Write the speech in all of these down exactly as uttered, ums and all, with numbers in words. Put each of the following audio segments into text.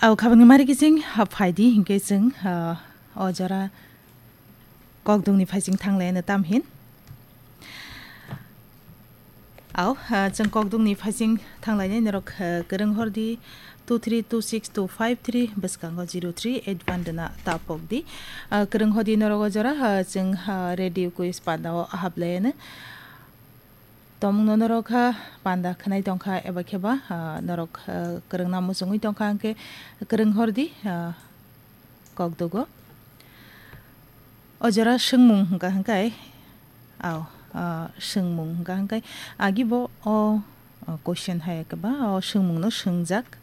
Au khabangni mari kiching, ha, phaidi hinkhe chwng, ha, o jora kokdukni phaising thanglaino tamhin. Au, ha, chwng kokdukni phaising thanglainai norok, ha, kwrwng hordi two three two six two five three bwskango zero three eight one rwna tapokdi. Ah, kwrwng hodi norok o jora, ha, chwng, ha, radio quiz pandao haplaino. Tomungno norok kha panda khwnai tongkha eba kheba, ah, norok, ah, kwrwngna muchungwi tongkha hwnkhe kwrwng hordi, ah, kokdugo. O jora swngmung hwnkha hwnkhe, au, ah, swngmung hwnkha hwnkhe agibo o, ah, question hai khe ba o swngmungno swngjak.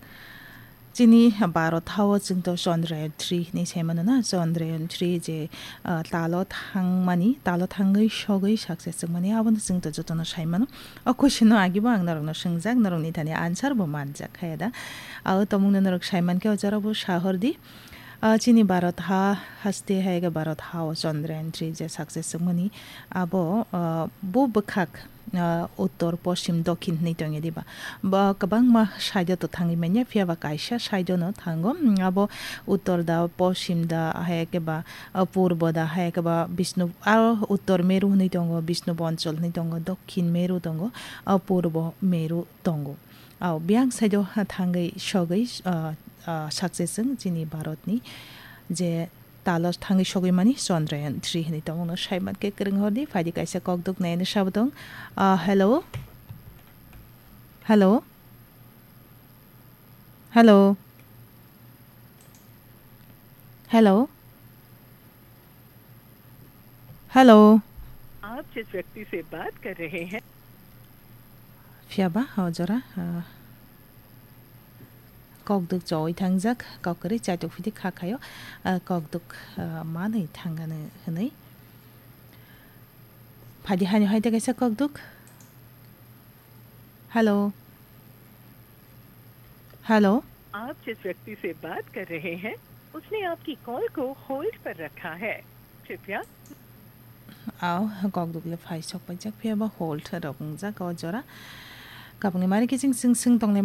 Chini Bharat hao chwng to Chandrayaan three hinwi sai mano na, Chandrayaan three je, ah, talo thangmani, talo thangwi sogwi success wngmani, abono chwng to jotono sai mano. O question no agibo ang norokno swngjak, norokni thani answer bo manjak kha da. Abo tomungno norok sai mankhe o jora bo sahordi. Ah, chini Bharat ha haste hai khe Bharat hao Chandrayaan three je success wngmani, abo, ah, bo bwkhak, ah, uttor, poschim, dokhin hinwi tongya diba? Ba kwbangma side o to thangwi manya, phiya ba kaisa side o no thango. Mm, abo uttor da, poschim da, hai khe ba, ah, purbo da, hai khe ba Bishnu, ah, uttor meru hinwi tongo, Bishnu bonchol hinwi tongo, dokhin meru tongo, ah, purbo meru tongo. Ah, biyang side o thangwi sogwi, ah, ah, success wng chini Bharat ni je talo thangwi sogwi mani Chandrayaan three hinwi tongmungno sai mankhe kwrwng hordi, phaidi kaisa kokduk naino sabo tong. Ah, hello? Hello? Hello? Hello? Hello? आप जिस व्यक्ति से बात कर रहे हैं। Phiya ba, o jora, ah, kokduk choi thangjak, kok kwrwi chaitok phidi kha khaio, ah, kokduk, ah, manwi thangano hwnwi. Phaidi haino hai de kaisa kokduk. Hello. Hello. आप जिस व्यक्ति से बात कर रहे हैं, उसने आपकी कॉल को होल्ड पर रखा है। कृपया। Au, kokduk le phai sok paijak, phiya ba hold rok wngjak o jora. Kabangni mari kiching sing sing tongnai